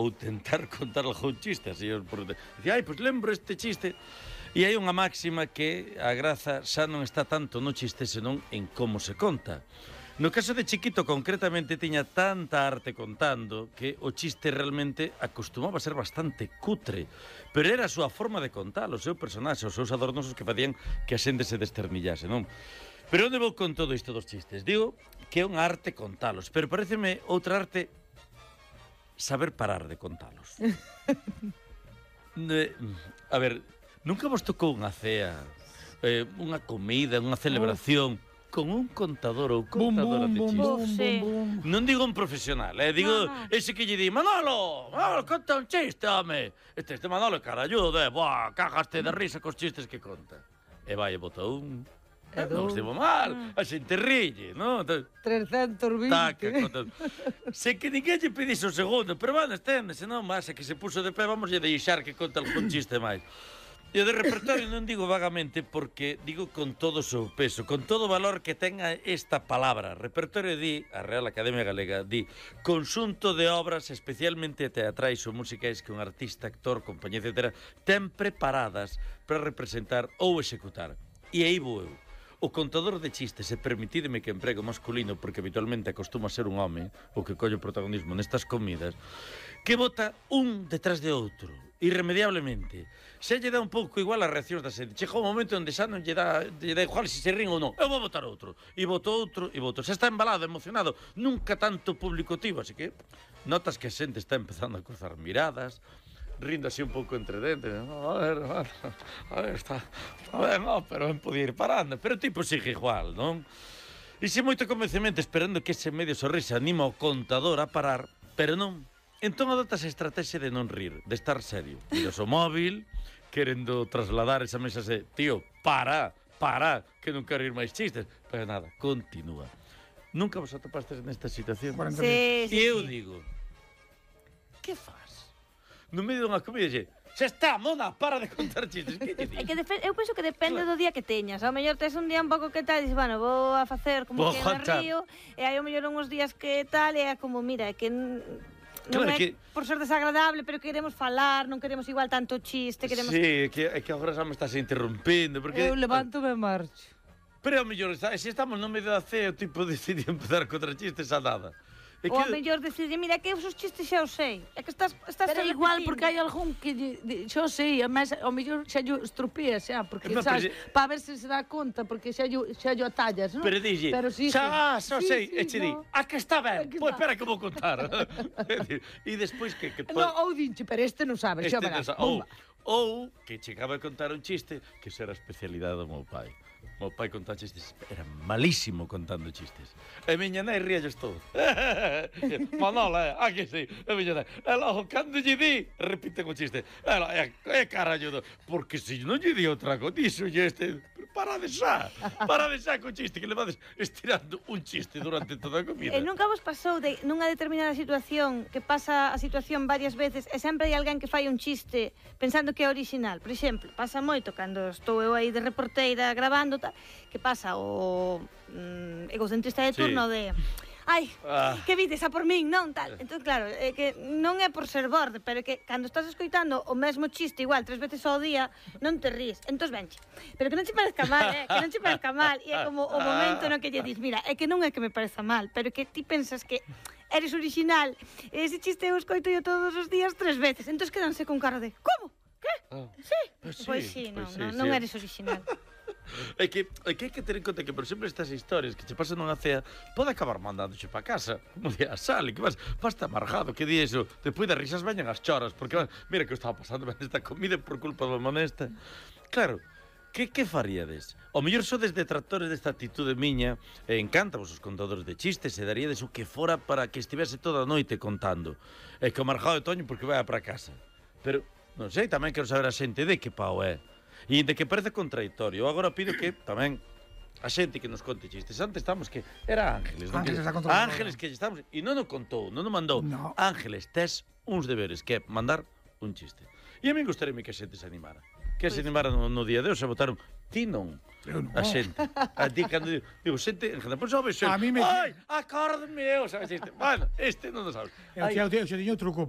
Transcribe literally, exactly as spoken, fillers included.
ou tentar contar algún chiste, así, por... Dicía, ai, pois lembro este chiste. E hai unha máxima que a graza xa non está tanto no chiste, senón en como se conta. No caso de Chiquito, concretamente, tiña tanta arte contando que o chiste realmente acostumaba a ser bastante cutre, pero era a súa forma de contar, o seu personaxe, os seus adornos os que facían que a xente se desternillase, non? Pero onde vou con todo isto dos chistes? Digo que é unha arte contalos, pero pareceme outra arte saber parar de contalos. eh, a ver, nunca vos tocou unha cea, eh, unha comida, unha celebración... con un contador ou contadora de chistes. Bum, sí. Non digo un profesional, eh? Digo no, no. ese que lle di Manolo, Manolo, conta un chiste, home. Este, este Manolo é caralludo, eh? Buah, cagaste de risa cos chistes que conta. E vai, e botou un... Eh, non estivo mal, a xente rille, non? trescentos vinte. Taca, conta... Se que ninguén lle pedise o segundo, pero van, estende, senón, máis, que se puso de pé, vamos lle deixar que conta algún chiste máis. E o de repertorio non digo vagamente porque digo con todo o seu peso, con todo o valor que tenga esta palabra. Repertorio di, a Real Academia Galega, di conxunto de obras especialmente teatrais ou musicais que un artista, actor, compañía, etcétera, ten preparadas para representar ou executar. E aí vou eu. O contador de chistes, e permitideme que emprego masculino, porque habitualmente acostuma a ser un home, o que colle o protagonismo nestas comidas, que bota un detrás de outro, irremediablemente. Se lle dá un pouco igual as reaccións da xente. Chega un momento onde xa non lle dá, lle dá igual se se rin ou non. Eu vou botar outro. E boto outro, e boto. Se está embalado, emocionado, nunca tanto público tivo, así que notas que a xente está empezando a cruzar miradas, rindo así un pouco entre dentes. A ver, a ver, a ver, está, está ben, no, pero ben podía ir parando. Pero o tipo sigue igual, non? E xe moito convencemento esperando que ese medio sorrisa anima o contador a parar, pero non. Entón adotas a estrategia de non rir, de estar serio. Miras o móvil, querendo trasladar esa mesa de tío, para, para, que non quero ir máis chistes. Pero nada, continúa. Nunca vos atopastes nesta situación? Sí, sí, e eu sí. digo, que faz? No medio dunha comida, xe, xa está, mona, para de contar chistes. Que te É que eu penso que depende do día que teñas. Ao mellor tes un día un pouco que tal, e dices, bueno, vou a facer como Vou que me contar. río, e hai ao mellor uns días que tal, e é como, mira, é que non Claro é que- por ser desagradable, pero queremos falar, non queremos igual tanto chiste, queremos... Sí, é que, é que agora xa me estás interrompindo, porque... Eu levanto-me e marcho. Pero ao mellor, se estamos no medio da cea, o tipo decide empezar contra chistes a nada. É Ou ao mellor decirle, mira, que eu os chistes xa os sei. É que estás, estás Pero repetindo. igual, porque hai algún que lle- de- xa o sei, además, ao mellor xa yo estropía, xa, porque, Eh, pero sabes, se- para ver se se dá conta, porque xa yo, xa yo atallas, non? Pero dille, Pero sí, xa, sí, xa sí, sei, sí, e che di, no. a que está ben, que pois está. espera que vou contar. E despois que... que No, ou dinche, pero este non sabe, xa este verás. non sa- ou, ou que chegaba a contar un chiste que esa era a especialidade do meu pai. O meu pai contaba chistes, era malísimo contando chistes. E miña nai ríalles todo. Manola, a que sí, e miña nai. E logo, cando lle di, repiten o chiste. E, lo, e, e carallo, porque se non lle di outra cosa, dixo lle este... Parade xa, parade xa co chiste, que le vades estirando un chiste durante toda a comida. E nunca vos pasou de nunha determinada situación que pasa a situación varias veces e sempre hai alguén que fai un chiste pensando que é original. Por exemplo, pasa moito cando estou eu aí de reporteira grabando tal, que pasa o mm, egocentrista de turno Sí. de ai, Ah. que vides a por min, non tal. Entón, claro, é que non é por ser borde, pero é que cando estás escoitando o mesmo chiste igual tres veces ao día, non te ríes. Entón, venche. Pero que non che parezca mal, eh? Que non che parezca mal. E é como o momento no que lle dis, mira, é que non é que me pareza mal, pero que ti pensas que eres original. E ese chiste eu escoito yo todos os días tres veces. Entón, quedanse con cara de, como? Que? Ah. Sí? Pois sí, Pois sí, non, pois sí, non, sí. non eres original. É que, é que hai que ter en conta que, por exemplo, estas historias que che pasan nunha cea pode acabar mandándoche pa casa, como di a Sally, que vas, vas amargado, que di eso, despois das risas veñan as choras, porque, mira que eu estaba pasando ben esta comida por culpa do monesta. Claro, que, que faríades? O mellor sodes detractores desta atitude miña, e encantavos os contadores de chistes, e daríades o que fora para que estivese toda a noite contando. E que o marjado de Toño porque vai para casa. Pero, non sei, tamén quero saber a xente de que pau é. E de que parece contradictorio. Eu agora pido que tamén a xente que nos conte chistes. Antes estamos que era Ángeles, non? Ángeles Que- está controlando. Ángeles que lle estamos e non o contou, non o mandou. No. Ángeles, tes uns deberes que é mandar un chiste. E a mí gustaríame que a xente se animara. Que se animara no, no día de hoxe, votaron ti non. Eu non. A xente. A ti cando digo, digo xente, en general, pois o vexo. A mí me- Ai, acórdame eu, sabes este. Bueno, este non o sabes. Eu, Ai, eu, eu, eu, eu, eu truco,